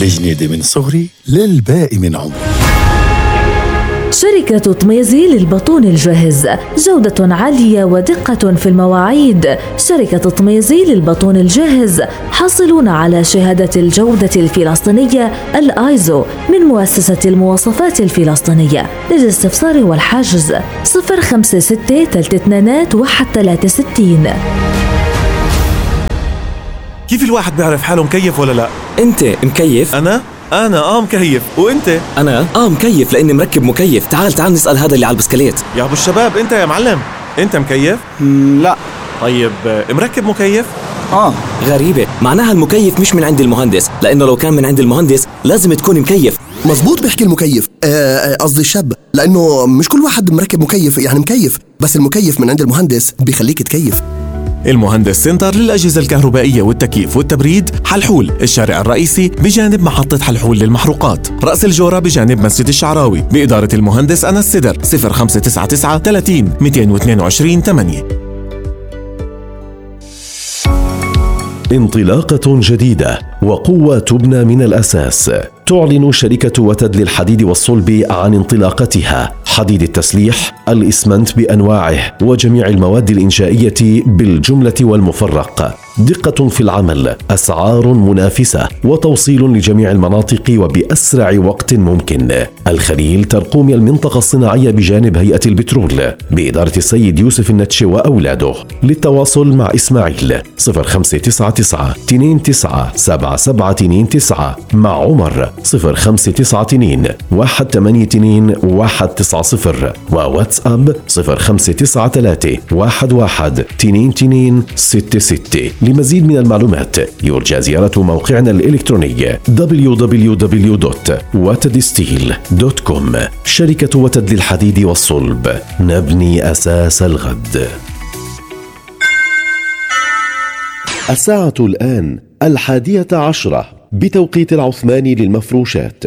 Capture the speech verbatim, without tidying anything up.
الجنيدة من صغري للباقي من عمري. شركة طميزي للبطون الجاهز، جودة عالية ودقة في المواعيد. شركة طميزي للبطون الجاهز حاصلون على شهادة الجودة الفلسطينية الآيزو من مؤسسة المواصفات الفلسطينية. للاستفسار والحجز صفر خمسة ستة ثلاثة اثنين واحد ثلاثة ستين. كيف الواحد بيعرف حاله مكيف ولا لا؟ انت مكيف؟ انا؟ انا اه مكيف. وانت؟ انا اه مكيف لاني مركب مكيف. تعال تعال نسأل هذا اللي على البسكليت. يا ابو الشباب، انت يا معلم انت مكيف؟ لا. طيب مركب مكيف؟ اه. غريبة، معناها المكيف مش من عند المهندس، لانه لو كان من عند المهندس لازم تكون مكيف. مزبوط بيحكي المكيف، قصدي الشاب، لانه مش كل واحد مركب مكيف يعني مكيف، بس المكيف من عند المهندس بيخليك تكيف. المهندس سنتر للأجهزة الكهربائية والتكييف والتبريد، حلحول الشارع الرئيسي بجانب محطة حلحول للمحروقات، رأس الجورة بجانب مسجد الشعراوي، بإدارة المهندس أنس السدر. صفر خمسة تسعة تسعة ثلاثين مئتين واثنين وعشرين ثمانية. انطلاقة جديدة وقوة تبنى من الأساس. تعلن شركة وتد للحديد والصلب عن انطلاقتها. حديد التسليح، الإسمنت بأنواعه وجميع المواد الإنشائية بالجملة والمفرق. دقة في العمل، أسعار منافسة، وتوصيل لجميع المناطق وبأسرع وقت ممكن. الخليل ترقوم المنطقة الصناعية بجانب هيئة البترول بإدارة السيد يوسف النتشي وأولاده. للتواصل مع إسماعيل صفر خمسة تسعة تسعة اثنين تسعة سبعة سبعة اثنين تسعة، مع عمر صفر خمسة تسعة اثنين واحد ثمانية اثنين واحد تسعة صفر، وواتساب صفر خمسة تسعة ثلاثة واحد واحد اثنين اثنين ستة ستة. لمزيد من المعلومات يرجى زيارة موقعنا الإلكتروني دبليو دبليو دبليو دوت وتد ستيل دوت كوم. شركة وتد للحديد والصلب، نبني أساس الغد. الساعة الآن الحادية عشرة بتوقيت العثماني للمفروشات.